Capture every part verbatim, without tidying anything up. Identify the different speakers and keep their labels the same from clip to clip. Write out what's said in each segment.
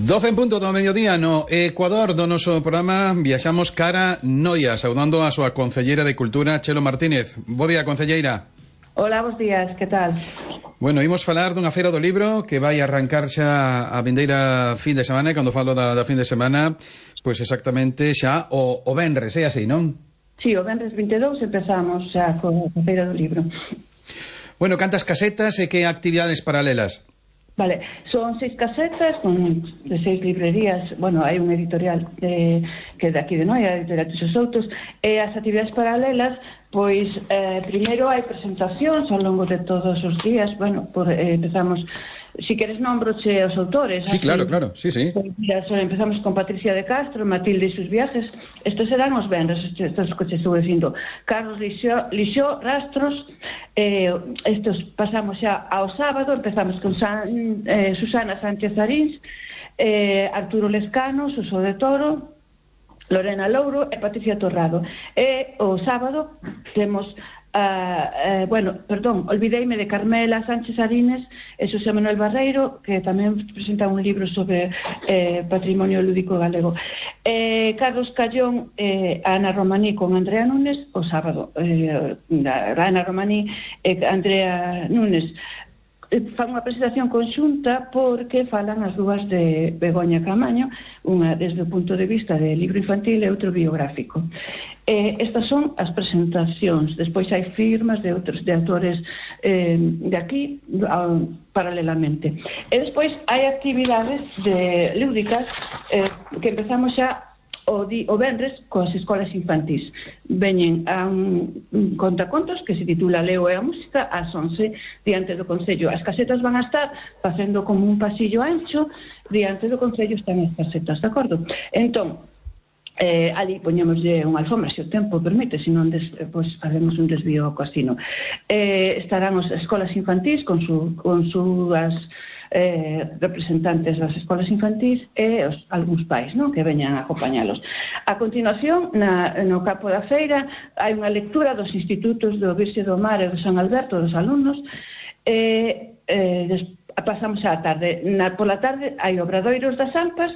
Speaker 1: doce en punto do mediodía no Ecuador do noso programa. Viaxamos cara Noia, saudando a súa concelleira de Cultura, Chelo Martínez. Bo día, concelleira.
Speaker 2: Hola, bons días, que tal?
Speaker 1: Bueno, imos falar dunha feira do libro que vai arrancar xa a vindeira fin de semana, e cando falo da, da fin de semana, pois exactamente xa o, o venres, é así, non?
Speaker 2: Sí, o venres vinte e dous empezamos xa con a feira do libro.
Speaker 1: Bueno, cantas casetas e que actividades paralelas?
Speaker 2: Vale, son seis casetas con de seis librerías. Bueno, hai un editorial de, que é de aquí de Noia, a editorial Tuxo Soutos, e as actividades paralelas, pois eh, primeiro hai presentacións ao longo de todos os días. Bueno, por, eh, empezamos, si queres nombroche os autores.
Speaker 1: Sí, así, claro, claro, sí, sí.
Speaker 2: Pues, mira, so, empezamos con Patricia de Castro, Matilde e sus viajes. Estos serán os venres, estos que te estuve dicindo. Carlos Lixó, Lixó Rastros. Eh, estos pasamos xa ao sábado, empezamos con San, eh, Susana Sánchez Arins, eh, Arturo Lescano, Suso de Toro, Lorena Louro e Patricia Torrado. E o sábado temos Uh, uh, bueno, perdón, olvideime de Carmela Sánchez Arines e Xosé Manuel Barreiro, que tamén presenta un libro sobre eh, patrimonio lúdico galego. eh, Carlos Callón e eh, Ana Romaní con Andrea Núñez o sábado. eh, Ana Romaní e Andrea Núñez fan unha presentación conxunta porque falan as dúas de Begoña Camaño, unha desde o punto de vista de libro infantil e outro biográfico. Eh, estas son as presentacións. Despois hai firmas de outros de autores eh, de aquí uh, paralelamente. E despois hai actividades de lúdicas eh, que empezamos xa o, di, o venres coas escolas infantís. Veñen a un, un contacontos que se titula Leo e a música ás once diante do Concello. As casetas van a estar facendo como un pasillo ancho, diante do Concello están as casetas, de acordo? Entón, Eh, ali poñémoslle unha alfombra se o tempo permite, se non des, pois faremos un desvío ao casino. Eh, estarán as escolas infantís con, su, con súas eh, representantes das escolas infantís e os, algúns pais, non, que veñan a acompañalos. A continuación, na, no campo da feira, hai unha lectura dos institutos do Virxe do Mar e do San Alberto dos alumnos. eh, eh, des, pasamos á tarde. Na, pola tarde hai obradoiros das Ampas,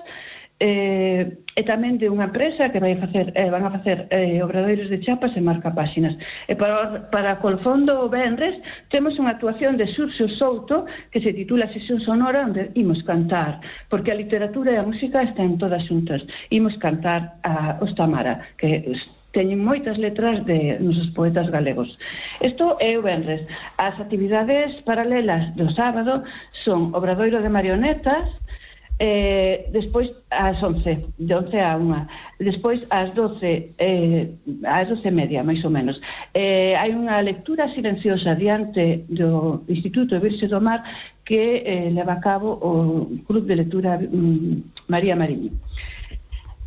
Speaker 2: Eh, e tamén de unha empresa que vai facer, eh, van a facer eh, obradoiros de chapas e marcapáxinas. E para, para Colfondo o venres temos unha actuación de Xurxo Souto que se titula Sesión Sonora, onde imos cantar, porque a literatura e a música están todas xuntas. Imos cantar a Os Tamara, que teñen moitas letras de nosos poetas galegos. Isto é o venres. As actividades paralelas do sábado son obradoiro de marionetas. Eh, despois ás once, de once a unha. Despois ás doce, eh, ás doce e media, máis ou menos. Eh, hai unha lectura silenciosa diante do Instituto Virxe do Mar que eh, leva a cabo o Club de Lectura um, María Mariño.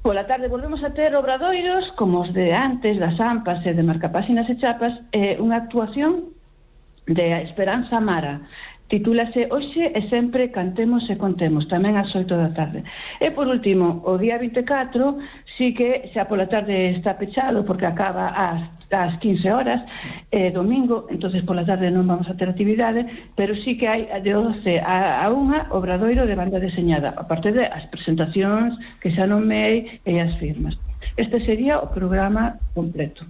Speaker 2: Pola tarde volvemos a ter obradoiros como os de antes, das Ampas e de marcapáxinas e chapas, eh, unha actuación de Esperanza Mara. Titúlase Hoxe e sempre cantemos e contemos, tamén ás oito da tarde. E por último, o día vinte e catro sí que xa pola tarde está pechado porque acaba ás, ás quince horas, eh, domingo, entonces pola tarde non vamos a ter actividade, pero sí que hai de doce a unha obradoiro de banda deseñada, aparte de as presentacións que xa nomei e as firmas. Este sería o programa completo.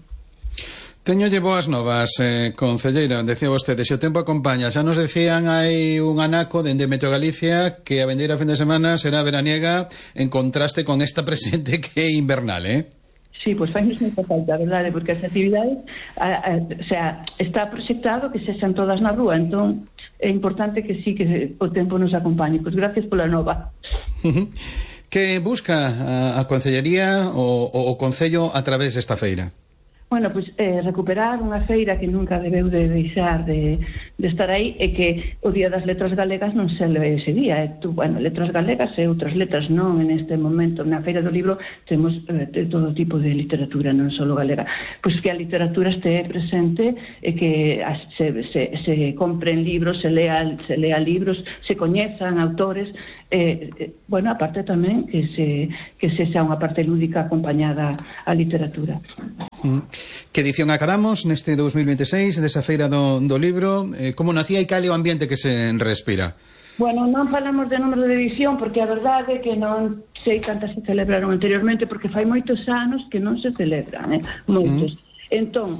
Speaker 1: Teñolle boas novas, eh, concelleira, decía vostede, se o tempo acompaña. Xa nos decían hai un anaco dende Meteo Galicia que a vendeira fin de semana será veraniega en contraste con esta presente que é invernal, eh?
Speaker 2: Sí, pois pues fainos moita falta, verdade, porque as actividades a, a, o sea, está proxectado que sexan todas na rúa, entón é importante que sí que o tempo nos acompañe. Pois pues gracias pola nova.
Speaker 1: Que busca a, a concellería o, o, o concello a través desta feira?
Speaker 2: Bueno, pois eh, recuperar unha feira que nunca debeu de deixar de, de estar aí e que o Día das Letras Galegas non se leve ese día. E tú, bueno, letras galegas e outras letras non en este momento. Na Feira do Libro temos eh, de todo tipo de literatura, non só galega. Pois que a literatura este presente e que as, se, se, se compren libros, se lea, se lea libros, se coñezan autores. Eh, eh, bueno, aparte tamén que se que se xa unha parte lúdica acompañada á literatura.
Speaker 1: Mm. Que edición acadamos neste dous mil vinte e seis desa feira do, do libro? Eh, como nacía e cal é o ambiente que se respira?
Speaker 2: Bueno, non falamos de número de edición porque a verdade é que non sei cantas se celebraron anteriormente porque fai moitos anos que non se celebran, eh? moitos. Mm. Entón,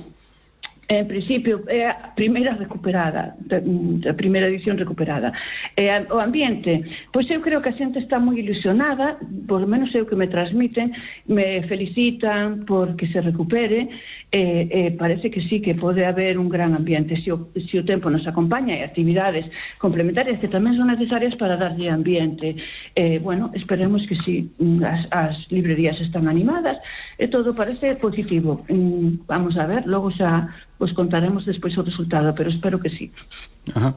Speaker 2: en principio é a primeira recuperada, a primeira edición recuperada. E o ambiente, pois eu creo que a xente está moi ilusionada, por lo menos é o que me transmiten, me felicitan porque se recupere, e, e parece que sí, que pode haber un gran ambiente se o, se o tempo nos acompaña e actividades complementarias que tamén son necesarias para darlle ambiente. E, bueno, esperemos que sí, as, as librerías están animadas e todo parece positivo. Vamos a ver, logo xa os contaremos despois o resultado, pero espero que sí.
Speaker 1: Ajá.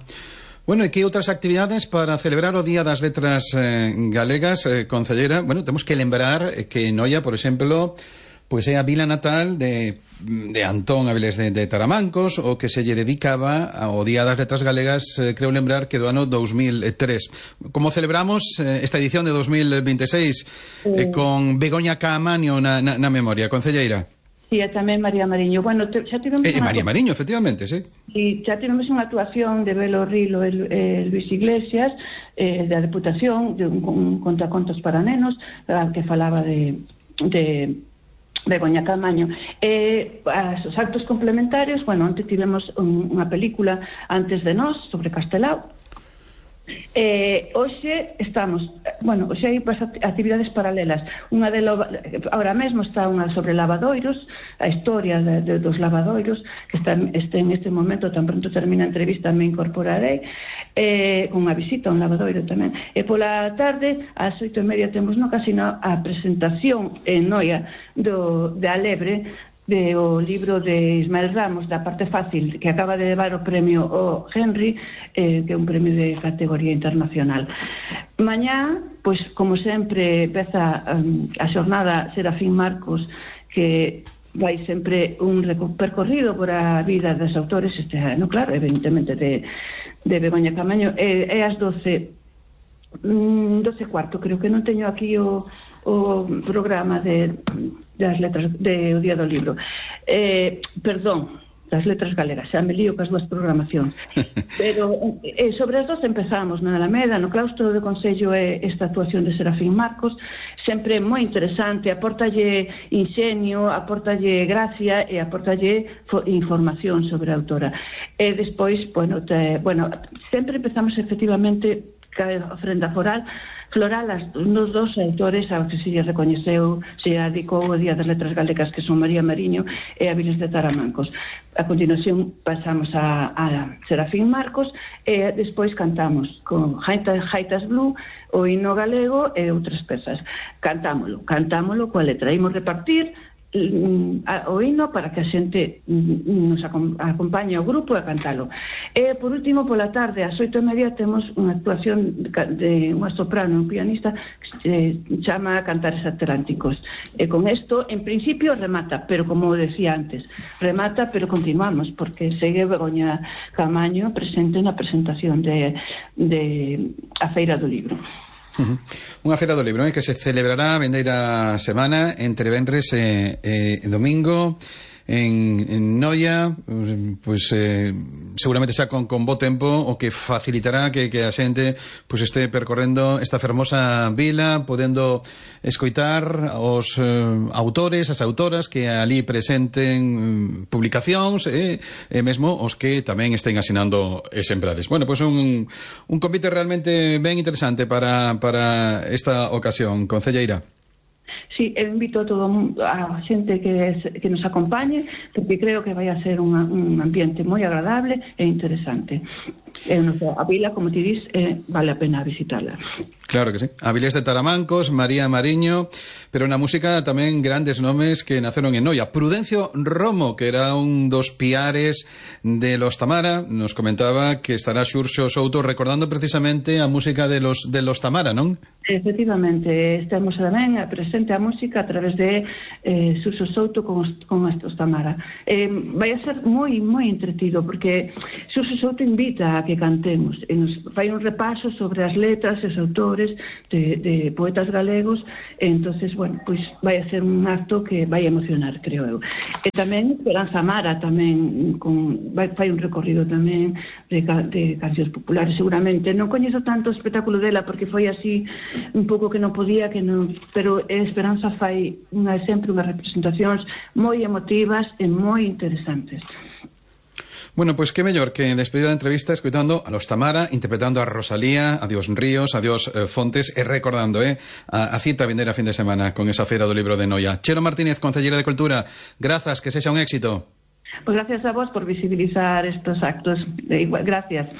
Speaker 1: Bueno, e que outras actividades para celebrar o Día das Letras eh, Galegas, eh, concelleira? Bueno, temos que lembrar que Noia, por exemplo, pois é a vila natal de, de Antón Avilés de, de Taramancos, o que se lle dedicaba ao Día das Letras Galegas, eh, creo lembrar que do ano dos mil tres. Como celebramos eh, esta edición de dos mil veintiséis eh, con Begoña Caamaño na, na, na memoria, concelleira?
Speaker 2: Sí, e tamén María Mariño. Bueno, te, xa tivemos...
Speaker 1: Eh, María Mariño, efectivamente, sí.
Speaker 2: Sí, xa tivemos unha actuación de Belo Rilo e eh, Luis Iglesias, eh, da Deputación, de un, un contacontos para nenos, que falaba de... de Begoña Caamaño. Eh, os actos complementarios, bueno, onte tivemos un, unha película Antes de nós, sobre Castelao. Eh, hoxe estamos, bueno, hoxe hai actividades paralelas. Unha de lo, ahora mesmo está unha sobre lavadoiros, a historia de, de, dos lavadoiros, que está este, en este momento, tan pronto termina a entrevista me incorporarei, eh, con unha visita a un lavadoiro tamén. E pola tarde, ás oito e media temos no casino a presentación en Noia do, de Alebre, de o libro de Ismael Ramos, da Parte Fácil, que acaba de levar o premio o Henry, eh, que é un premio de categoría internacional. Mañá, pois, como sempre, empeza um, a xornada Serafín Marcos, que vai sempre un percorrido por a vida dos autores, este ano, claro, evidentemente, de, de Begoña Caamaño, é, é as doce, doce cuarto, creo que non teño aquí o, o programa de... das letras de o Día do Libro. Eh, perdón, das letras galegas, xa me lío cas dúas programacións. Pero eh, sobre as dos empezamos na Alameda, no claustro do Consello, é esta actuación de Serafín Marcos, sempre moi interesante, aportalle inxenio, aportalle gracia e aportalle información sobre a autora. E despois, bueno, te, bueno sempre empezamos efectivamente a ofrenda foral floral as nos dos autores aos que se lle recoñeceu, se adicou o Día das Letras Galegas, que son María Mariño e Avilés de Taramancos. A continuación pasamos a, a Serafín Marcos e despois cantamos con Jaitas, Jaitas Blue, o himno galego e outras pezas. Cantámolo, cantámolo coa letra. Imos repartir o himno para que a xente nos acompañe ao grupo a cantalo. E por último, pola tarde, ás oito e media, temos unha actuación de unha soprano, un pianista que se chama Cantares Atlánticos. E con isto, en principio, remata, pero como decía antes, remata, pero continuamos, porque segue Begoña Caamaño presente na presentación de, de a Feira do Libro.
Speaker 1: Uh-huh. Unha feira do libro, eh, que se celebrará a vendeira semana entre venres e, e domingo en, en Noia, pois eh, seguramente xa con, con bo tempo, o que facilitará que, que a xente pois este percorrendo esta fermosa vila, podendo escoitar os eh, autores, as autoras que ali presenten eh, publicacións e, e mesmo os que tamén estén asinando exemplares. Bueno, pois un, un convite realmente ben interesante para, para esta ocasión, concelleira.
Speaker 2: Sí, eu invito a todo a xente que, que nos acompañe, porque creo que vai a ser unha, un ambiente moi agradable e interesante. E a vila, como ti dis, eh, vale a pena visitarla.
Speaker 1: Claro que sí. Avilés de Taramancos, María Mariño, pero na música tamén grandes nomes que naceron en Noia. Prudencio Romo, que era un dos piares de los Tamara, nos comentaba que estará Xurxo Souto recordando precisamente a música de los, de los Tamara, non?
Speaker 2: Efectivamente, estamos tamén presente a música a través de eh, Xurxo Souto con, con estos Tamara. Eh, vai a ser moi, moi entretido, porque Xurxo Souto invita a que cantemos, e nos fai un repaso sobre as letras e os autores de, de poetas galegos, e entonces, bueno, pois vai a ser un acto que vai emocionar, creo eu. E tamén Esperanza Amara tamén con, vai, fai un recorrido tamén de, de cancións populares, seguramente non coñezo tanto o espectáculo dela porque foi así un pouco que non podía, que non, pero Esperanza fai unha, sempre unhas representacións moi emotivas e moi interesantes.
Speaker 1: Bueno, pues qué mellor que despedida de entrevista escuitando a los Tamara, interpretando a Rosalía, a Dios Ríos, a Dios eh, Fontes, e recordando eh, a, a cita vindeira fin de semana con esa feira do libro de Noia. Chelo Martínez, concelleira de Cultura, grazas, que sexa un éxito.
Speaker 2: Pues gracias a vos por visibilizar estos actos. Gracias.